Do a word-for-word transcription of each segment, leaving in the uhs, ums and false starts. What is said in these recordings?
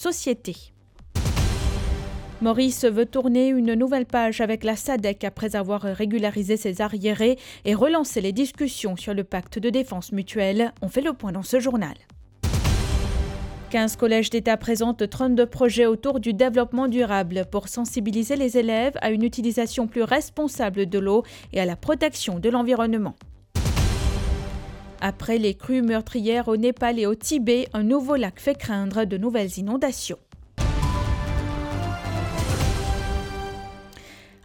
société. Maurice veut tourner une nouvelle page avec la sadec après avoir régularisé ses arriérés et relancer les discussions sur le pacte de défense mutuelle. On fait le point dans ce journal. Quinze collèges d'État présentent trente-deux projets autour du développement durable pour sensibiliser les élèves à une utilisation plus responsable de l'eau et à la protection de l'environnement. Après les crues meurtrières au Népal et au Tibet, un nouveau lac fait craindre de nouvelles inondations.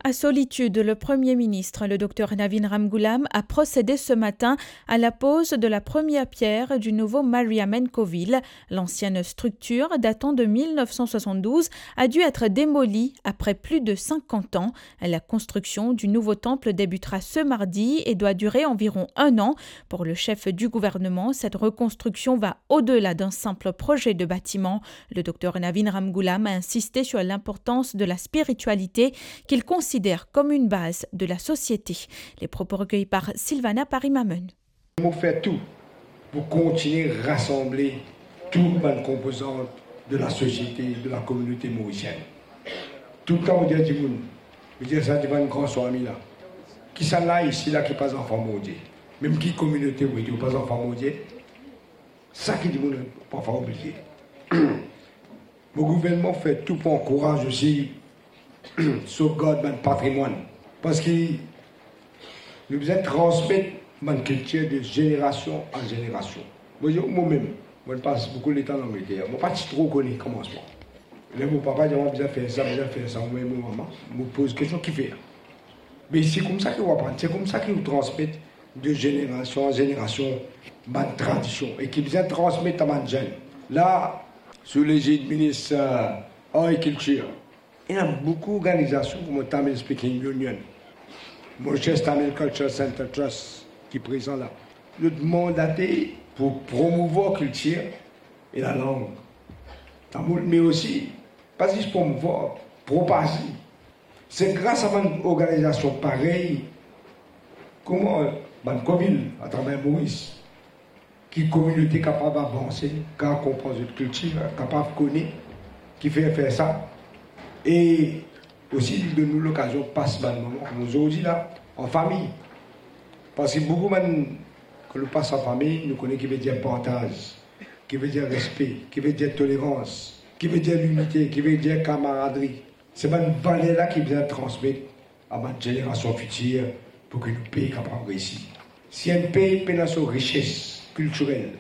À Solitude, le Premier ministre, le docteur Navin Ramgoolam, a procédé ce matin à la pose de la première pierre du nouveau Mariamen Covil. L'ancienne structure, datant de mille neuf cent soixante-douze, a dû être démolie après plus de cinquante ans. La construction du nouveau temple débutera ce mardi et doit durer environ un an. Pour le chef du gouvernement, cette reconstruction va au-delà d'un simple projet de bâtiment. Le docteur Navin Ramgoolam a insisté sur l'importance de la spiritualité, qu'il considère comme une base de la société. Les propos recueillis par Sylvana Parimamon. Mo fer tou pou kontigne rasanble tou bann konpozan de lasosiete, de lakominote morisien. Toultan mo dir dimoun, mo dir sa devan enn gran swami la, kisannla isi la ki pa zanfan Bondie? Mem ki kominote ou ete, ou pa zanfan Bondie? Sa ki dimoun parfwa oubliye. Mo gouvernman fer tou pou ankouraz osi sovgard bann patrimwann, parski nou bizin transmet bann kiltir de zenerasion an zenerasion. Mo, mo mem, mo pas boukou letan Langleter, mo pa ti tro kone komansman. Ler mo papa dir mwa bizin fer sa, bizin fer sa, mo mem mo mama, mo poz kestion, kifer? Me se koumsa ki ou aprann, se koumsa ki ou transmet de zenerasion an zenerasion bann tradision e ki bizin transmet a bann zenn. La, sou lezid minis, eh, Agrikiltir, ena boukou organizasion kouma Tamil Speaking Union, Mauritius Tamil Cultural Centre Trust ki prezan la. Zot mandate pou promouvwar kiltir e lalang tamoul, me osi, pa zis promouvwar, propaze. Se gras a bann organizasion parey kouma bann Covil atraver Moris ki kominote kapav avanse, kapav konpran zot kiltir, kapav kone kifer fer sa. E osi, li donn nou lokazion pas bann moman kouma zordi la, an fami. Parski boukou bann, kan nou pas an fami, nou kone ki vedir partaz, ki vedir respe, ki vedir tolerans, ki vedir linite, ki vedir kamaradri. Se bann valer la ki bizin transmet a bann zenerasion fitir pou ki nou pei kapav reisi. Si enn pei pena so rises kiltirel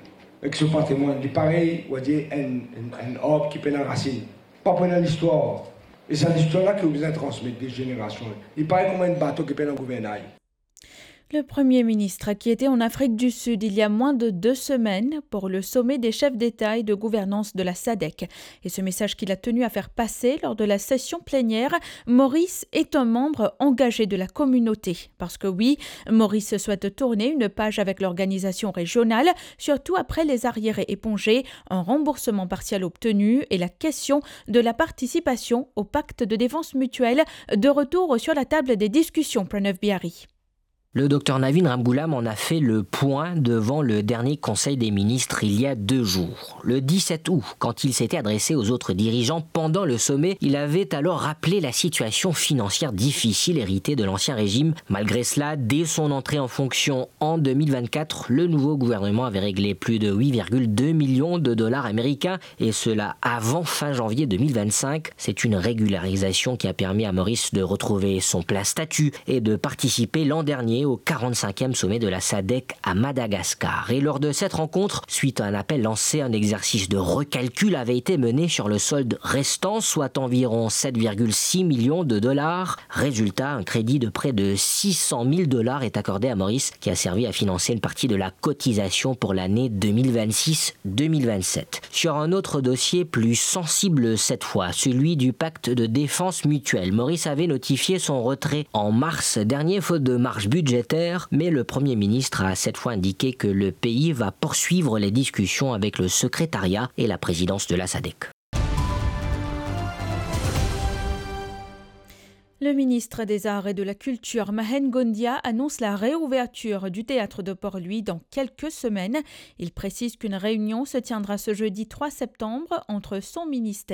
ek so patrimwann, li parey, ou a dir, enn, enn, enn arb ki pena rasinn, pa pou ena listwar. E sa listwar la ki ou bizin transmet de zenerasion. Li parey kouma enn bato ki pena gouvernay. Le Premier ministre, qui était en Afrique du Sud il y a moins de deux semaines pour le sommet des chefs d'État et de gouvernance de la sadec. Et ce message qu'il a tenu à faire passer lors de la session plénière, Maurice est un membre engagé de la communauté. Parce que oui, Maurice souhaite tourner une page avec l'organisation régionale, surtout après les arriérés épongés, un remboursement partiel obtenu et la question de la participation au pacte de défense mutuelle de retour sur la table des discussions, Pranav Bihari. Le docteur Navin Ramgoolam en a fait le point devant le dernier Conseil des ministres il y a deux jours. Le dix-sept août, quand il s'était adressé aux autres dirigeants pendant le sommet, il avait alors rappelé la situation financière difficile héritée de l'ancien régime. Malgré cela, dès son entrée en fonction en deux mille vingt-quatre, le nouveau gouvernement avait réglé plus de huit virgule deux millions de dollars américains, et cela avant fin janvier deux mille vingt-cinq. C'est une régularisation qui a permis à Maurice de retrouver son plein statut et de participer l'an dernier au quarante-cinquième sommet de la sadec à Madagascar. Et lors de cette rencontre, suite à un appel lancé, un exercice de recalcul avait été mené sur le solde restant, soit environ sept virgule six millions de dollars. Résultat, un crédit de près de six cent mille dollars est accordé à Maurice, qui a servi à financer une partie de la cotisation pour l'année deux mille vingt-six deux mille vingt-sept. Sur un autre dossier plus sensible cette fois, celui du pacte de défense mutuelle, Maurice avait notifié son retrait en mars dernier faute de marge budgétaire, mais le Premier ministre a cette fois indiqué que le pays va poursuivre les discussions avec le secrétariat et la présidence de la sadec. Le ministre des Arts et de la Culture, Mahen Gondia, annonce la réouverture du théâtre de Port-Louis dans quelques semaines. Il précise qu'une réunion se tiendra ce jeudi trois septembre entre son ministère